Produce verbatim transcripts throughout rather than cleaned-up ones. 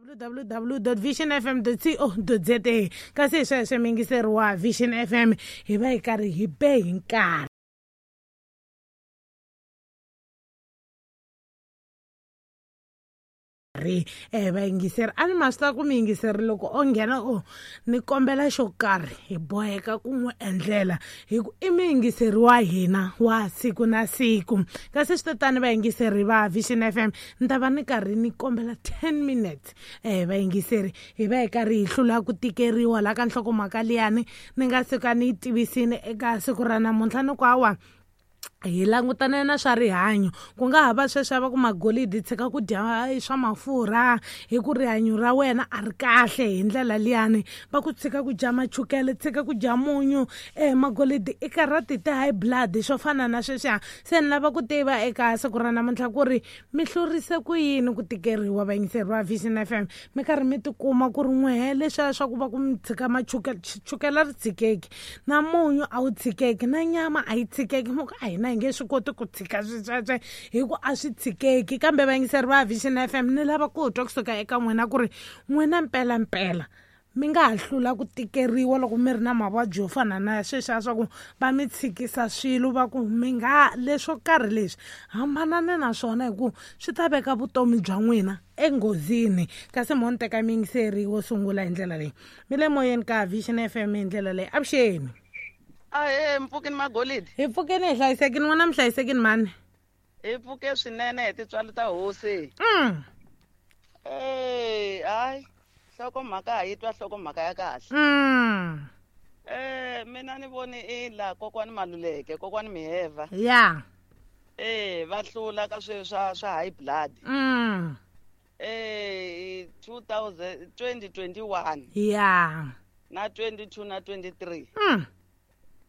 w w w dot vision f m dot co dot z a. Kasi hi sweswo muyingiseri wa Vision F M hi va hi karhi hi be hi nkarhi. Eh vayingiseri a ni ma swi tiva ku muyingiseri loko o nghena o ni kombela xo karhi hi boheka ku n'wi endlela hi ku i muyingiseri wa hina wa siku na siku. Kasi swi tatani vayingiseri va Vision F M ni ta va ni karhi ni kombela ten minutes eh vayingiseri hi va hi karhi hi hlula ku tikeriwa la ka nhlokomhaka liyani ni nga suka ni yi tivisini eka siku ra namuntlha ni ku hawa hi langutane na swa rihanyo ku nga ha va sweswi va ku magolidi tshika ku dya swa mafurha hi ku rihanyo ra wena a ri kahle hi ndlela liyani va ku tshika ku dya machukele tshika ku dya munyu eh magolidi i karhati ti high blood swo fana na sweswiya. Se ni lava ku tiva eka siku ra namuntlha ku ri mi hlurise ku yini ku tikeriwa vayingiseri va Vision F M mi karhi mi tikuma ku ri n'wehe leswiya swa ku va ku mi tshika machukele chukele ri tshikeki na munyu a wu tshikeki na nyama a yi tshikeki mo ku a hina hi nge swi koti ku tshika swesweswe hi ku a swi tshikeki. Kambe vayingiseri va Vision F M ni lava ku twa kusuka eka n'wina ku ri n'wina mpela mpela mi nga ha hlula ku tikeriwa loko mi ri na mavabyi yo fana na sweswiya swa ku va mi tshikisa swilo va ku mi nga leswo karhi leswi hambanani na swona hi ku swi ta veka vutomi bya n'wina enghozini. Kasi mo ni teka muyingiseri wo sungula hi ndlela leyi mi le moyeni ka Vision F M hi ndlela leyi. Avuxeni. Ahe mpfukeni magolidi. Hi pfukeni hi hlayisekini n'wana mi hlayisekini mani? Hi pfuke swinene hi tintswalo ta hosi. Mm. Eh, hayi nhlokomhaka ha yi twa nhlokomhaka ya kahle. Mm. Eh, mina ni voni i la kokwani Maluleke, kokwani Miheva. Yeah. Eh, va hlula ka swilo swa swa high blood. Mm. Eh, two thousand twenty twenty-one. Yeah. Na twenty-two na twenty-three. Mm.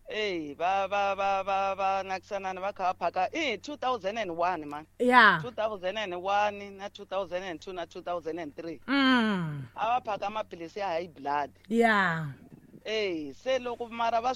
Eh, va va va va va nakisanana va kha va phaka eh two thousand and one man. Yeah. two thousand and one na two thousand and two na two thousand and three. Mm. A va phaka maphilisi ya high blood. Yeah. Eh, se loko mara va